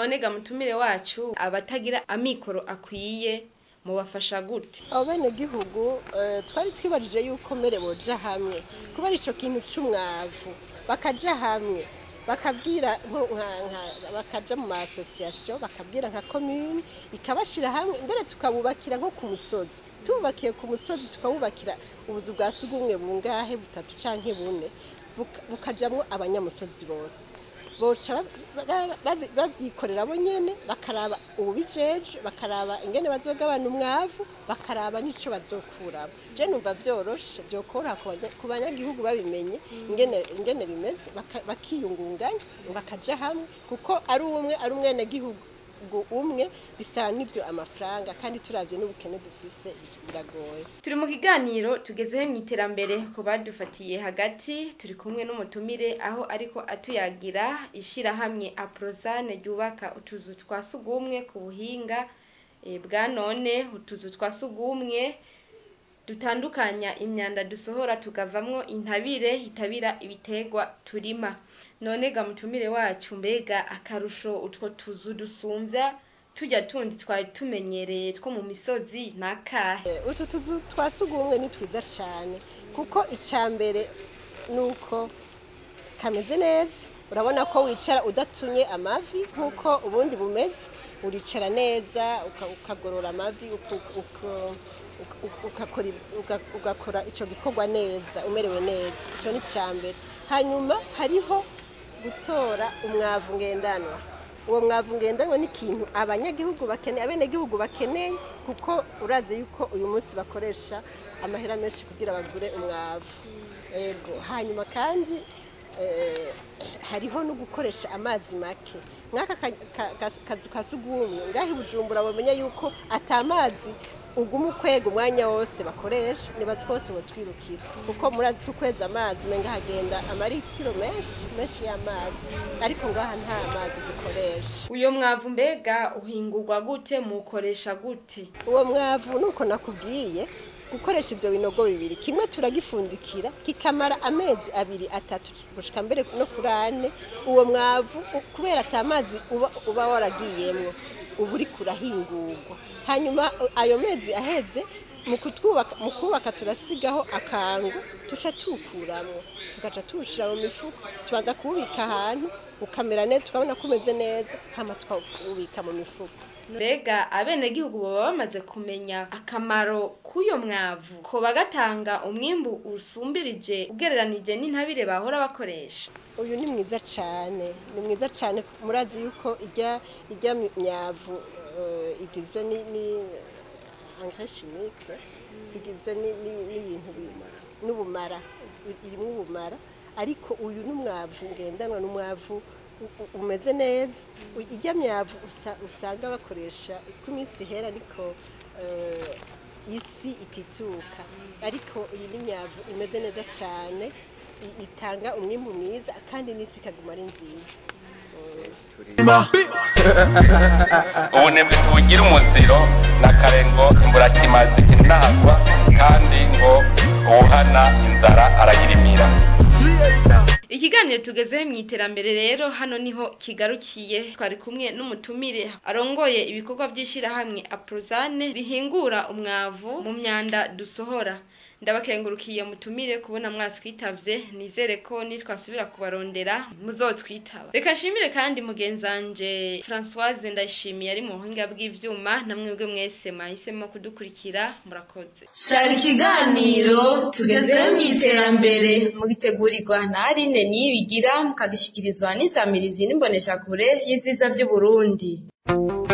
None ga mutumire wacu, abatagira amikoro akwiye mubafasha gute? Abo benegihugu twari twibajije yuko mbere boja hamwe kubera ico kintu c'umwavu, bakaja hamwe bakabwira bakaja mu ma association, bakabwira nka commune ikabashira hamwe, mbere tukabubakira nko ku musozi. Tububakiye ku musozi, tukabubakira ubuzu bwa sugumwe bungahe, butatu canke bune, bukajamwo abanyamusozi bose, boca bavyikorera bo nyene, bakaraba uwubijeje, bakaraba ingene bazogabana umwavu, bakaraba n'ico bazokuramo. Je numva vyoroshe, vyokoroha ku banyagihugu babimenye ingene bimeze, bakiyungunganya, bakaja hamwe, kuko ari umwe, ari umwenegihugu umwe, bisaba n'ivyo amafaranga, kandi turavye n'ubukene dufise biragoye. Turi mu kiganiro tugezeho mu iterambere. Ku badufatiye hagati, turi kumwe n'umutumire aho ariko atuyagira ishirahamwe Aprozane ryubaka utuzu twa sugumwe ku buhinga bwa none, utuzu twa sugumwe dutandukanya imyanda dusohora tukavamwo intabire itabira ibitegwa turima. None ga mutumire wacu, mbega akarusho utwo tuzu dusumvya tujya tundi twari tumenyereye two mu misozi nakahe? Utu tuzu twa sugumwe ni twiza cane, kuko ica mbere nuko kameze neza. Urabona ko wicara udatumye amavi nk'uko ubundi bumeze, uricara neza, ukagorora amavi, ugakora ico gikorwa neza, umerewe neza. Ico ni ica mbere. Hanyuma hariho gutora umwavu ngendanwa. Uwo mwavu ngendanwa ni ikintu abanyagihugu bakeneye, abenegihugu bakeneye, kuko urazi yuko uyu munsi bakoresha amahera menshi kugira bagure umwavu. Ego. Hanyuma kandi hariho no gukoresha amazi make. Nk'aka kazu ka sugumwe ngaho i Bujumbura, bamenya yuko ata mazi uguma ukwega umwanya wose bakoresha, niba twose botwirukira, kuko murazi ko ukweza amazi umenga hagenda amaritiro menshi menshi y'amazi, ariko ngaha nta mazi dukoresha. Uyo mwavu mbega uhingurwa gute, mukoresha gute? Uwo mwavu, nuko nakubwiye, gukoresha ivyo binogo bibiri, kimwe turagifundikira kikamara amezi 2, 3, gushika mbere no kuri 4. Uwo mwavu, kubera ata mazi uba waragiyemwo, uba uriko urahingurwa. Hanyuma ayo mezi aheze, mu kubaka turasigaho akangu, tuca tuwukuramwo, tugaca tuwushira mu mifuko. Tubanza kuwubika ahantu ukamera neza, tukabona ko umeze neza, hama tukawubika mu mifuko. Mbega abenegihugu baba bamaze kumenya akamaro k'uyo mwavu, ko bagatanga umwimbu usumbirije ugereranije n'intabire bahora bakoresha? Uyu ni mwiza cane, ni mwiza cane. Murazi yuko ijya myavu igizwe ni engrais chimique, igizwe n'ibintu n'ubumara, irimwo ubumara, ariko uyu ni umwavu ngendanwa, n'umwavu umeze neza. Ijya myavu usanga bakoresha uko iminsi ihera, ariko isi itituka, ariko iyi ni myavu imeze neza cane, itanga umwimbu mwiza kandi n'isi ikaguma ari nziza. Ubunebwe tubugira umuziro na kare, ngo imburakimazi inahaswa, kandi ngo uwuhana inzara arayirimira. Ikiganiro tugezeho mu iterambere rero hano niho kigarukiye. Twari kumwe n'umutumire arongoye ibikorwa by'ishyirahamwe Aprozane rihingura umwavu mu myanda dusohora. Ndabakengurukiye mutumire kubona mwatwitavye, nizere ko nitwasubira kubarondera muzotwitaba. Reka nshimire kandi mugenzanje Françoise Ndayishimiye ari mu buhinga bw'ivyuma, namwebwe mwese mwahisemo kudukurikira, murakoze. Shara ikiganiro tugezeho mu iterambere mugitegurirwa na Aline Niyibigira, mukagishikirizwa n'isamirizi n'imboneshakure y'ivyiza vy'Uburundi.